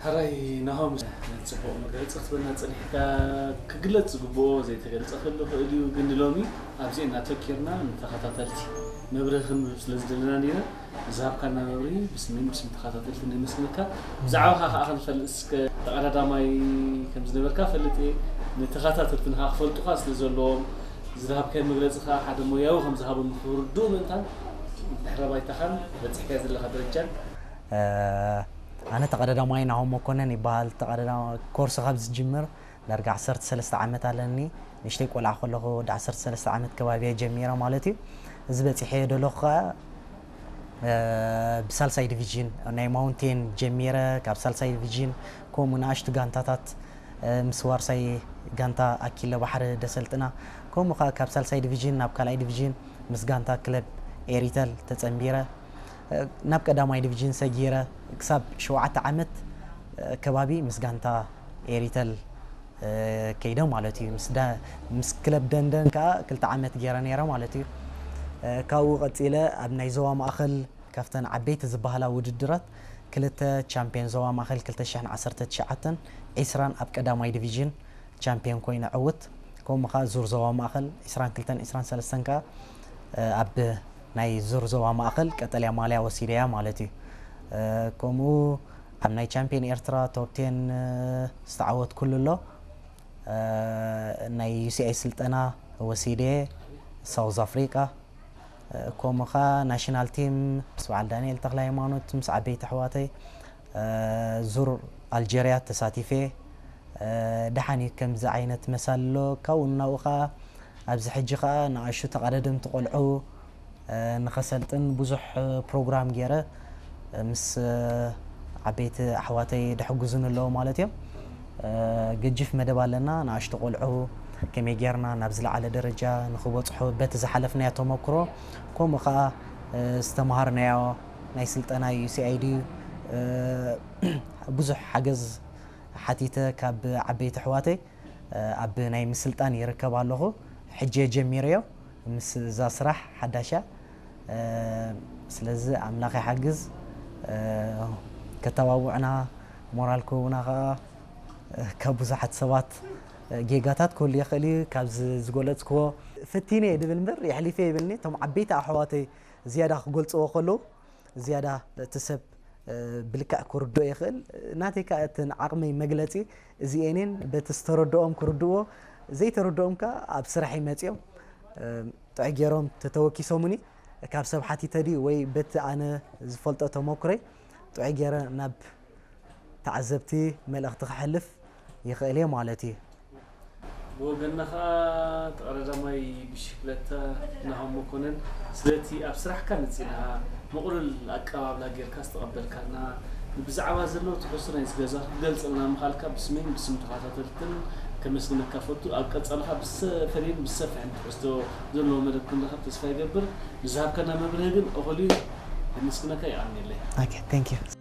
ሕራይ ናሆም፣ ጽቡቕ መግለጺ ክትበና ጸኒሕካ። ክግለጽ ዝግብኦ ዘይተገልጸ ክህሉ ይኽእል እዩ፣ ግን ንሎሚ ኣብዚኤን ኣተኪርና ንተኸታተልቲ መብርሂ ክንህብ ስለ ዝደለና ኢና። ዝሃብካና መብርሂ ብስሜን ብስም ተኸታተልቲ ነመስግነካ። ብዛዕባኻ ከኣ ክንፈልጥ እስከ ተቐዳዳማይ ከም ዝነበርካ ፈልጥ እየ። ንተኸታተልትና ከኣ ክፈልጡኻ ስለ ዘለዎም ዝሃብካዮ መግለጺ ከኣ ሓደ ሞያዊ ከም ዝሃበ ንኽርድኡ ምእንታን ድሕረ ባይታኻን በጺሕካዮ ዘለኻ ደረጃን። ኣነ ተቐዳዳማይ ናሆም መኮነን ይበሃል። ተቐዳዳማ ኮርስ ካብ ዝጅምር ዳርጋ ዓሰርተ ሰለስተ ዓመት ኣለኒ። ንእሽተይ ቆልዓ ከለኹ ወዲ ዓሰርተ ሰለስተ ዓመት ከባቢ እየ ጀሚረ ማለት እዩ። እዚ በጺሐ ዘለኹ ከኣ፣ እ፣ ብሳልሳይ ዲቪዥን ናይ ማውንቴን ጀሚረ፣ ካብ ሳልሳይ ዲቪዥን ከምኡ ንኣሽቱ ጋንታታት፣ እ፣ ምስ ዋርሳይ ጋንታ ኣኪለ ባሕሪ ደሰልጥና፣ ከምኡ ከኣ ካብ ሳልሳይ ዲቪዥን ናብ ካልኣይ ዲቪዥን ምስ ጋንታ ክለብ ኤሪተል ተጸንቢረ፣ እ፣ ናብ ቀዳማይ ዲቪዥን ሰጊረ ክሳብ ሸውዓተ ዓመት፣ እ፣ ከባቢ ምስ ጋንታ ኤሪተል፣ እ፣ ከይደ ማለት እዩ። ምስ ዳ-፣ ምስ ክለብ ደንደን ከኣ ክልተ ዓመት ገይረ ነይረ ማለት እዩ። እ፣ ካብኡ ቀጺለ ኣብ ናይ ዞባ ማእከል ካብተን ዓበይቲ ዝበሃላ ውድድራት ክልተ ቻምፒዮን ዞባ ማእከል ክልተ ሽሕን ዓሰርተ ትሽዓተን ዒስራን ኣብ ቀዳማይ ዲቪዥን ቻምፒዮን ኮይነ ዕውት። ከምኡ ከኣ ዙር ዞባ ማእከል ዒስራን ክልተን ዒስራን ሰለስተን ከኣ፣ እ፣ ኣብ ናይ ዙር ዞባ ማእከል ቀጠልያ ማልያ ወሲደያ ማለት እዩ። እ፣ ከምኡ ኣብ ናይ ቻምፒዮን ኤርትራ ቶፕ ቴን፣ እ፣ ዝተዓወትኩሉ ኣሎ። እ፣ ናይ ዩ ሲ ኣይ ስልጠና ወሲደ ሳውዝ ኣፍሪቃ። እ፣ ከምኡ ከኣ ናሽናል ቲም ምስ በዓል ዳንኤል ተኽለ ሃይማኖት ምስ ዓበይቲ ኣሕዋተይ፣ እ፣ ዙር ኣልጀርያ ተሳቲፈ። እ፣ ደሓን እዩ ከምዚ ዓይነት መሳሊ ኣሎ። ካብኡ ናብኡ ከኣ ኣብዚ ሕጂ ከኣ ንኣሽቱ ተቐዳደምቲ ቆልዑ፣ እ፣ ንኸሰልጥን ብዙሕ ፕሮግራም ገይረ፣ እ፣ ምስ፣ እ፣ ዓበይቲ ኣሕዋተይ ደሕጉዙኒ ኣለዉ ማለት እዮም። እ፣ ገጂፍ መደብ ኣለና። ንኣሽቱ ቆልዑ ከመይ ጌርና ናብ ዝለዓለ ደረጃ ንኽበጽሑ በቲ ዝሓለፍናዮ ተመክሮ፣ ከምኡ ከኣ፣ እ፣ ዝተምሃርናዮ ናይ ስልጠና ዩ ሲ ኣይ ዲ፣ እ፣ ብዙሕ ሓገዝ ሓቲተ ካብ ዓበይቲ ኣሕዋተይ፣ እ፣ ኣብ ናይ ምስልጣን ይርከብ ኣለኹ። ሕጂ እየ ጀሚረዮ ምስ እዛ ስራሕ ሓዳሽ እያ። እ፣ ስለዚ ኣምላኽ ይሓግዝ፣ እ፣ ከተባብዑና፣ ሞራል ክህቡና ከኣ፣ እ፣ ካብ ብዙሓት ሰባት፣ እ፣ ጌጋታት ክህሉ ይኽእል እዩ። ካብዚ ዝገለጽክዎ ፈቲነ እየ ድብል እምበር የሕሊፈ ይብልኒ። እቶም ዓበይቲ ኣሕዋተይ ዝያዳ ክገልጽዎ ከለዉ፣ ዝያዳ እቲ ሰብ፣ እ፣ ብልክዕ ክርድኦ ይኽእል። ናተይ ከኣ እተን ዓቕመይ መግለጺ እዚኤን እየን። በቲ ዝተረድኦም ክርድእዎ፣ ዘይተረድኦም ከኣ ኣብ ስራሐይ መጺኦም፣ እ፣ ጥዑይ ገይሮም ተተወኪሶሙኒ። ካብ ሰብ ሓቲተ ድዩ ወይ በቲ ኣነ ዝፈልጦ ተመኩረይ ጥዑይ ገይረ ናብ ተዓዘብቲ መልእኽቲ ከሕልፍ ይኽእል እየ ማለት እዩ። ብወገንና ከኣ ተቐዳዳማይ ብሽክለታ ናሆም መኮነን፣ ስለቲ ኣብ ስራሕካ መጺእና ምቕሉል ኣቀባብላ ጌርካ ዝተቐበልካና፣ ብዛዕባ ዘለዉ ትሕዝቶ ናይዚ ገዛ ክትገልጸልና ምኻልካ ብስመይን ብስም ተኸታተልትን ከመስግነካ ፈቱ። ኣብ ቀጻሊ ከኣ ብዝተፈለየን ብዝሰፍሐን ትሕዝቶ ዘለዎ መደብ ክንረኸብ ተስፋ ይገብር። ንዝሃብካና መብርሂ ግን እኹል እዩ። የመስግነካ፣ የቐንየለይ። ኦኬ፣ thank you።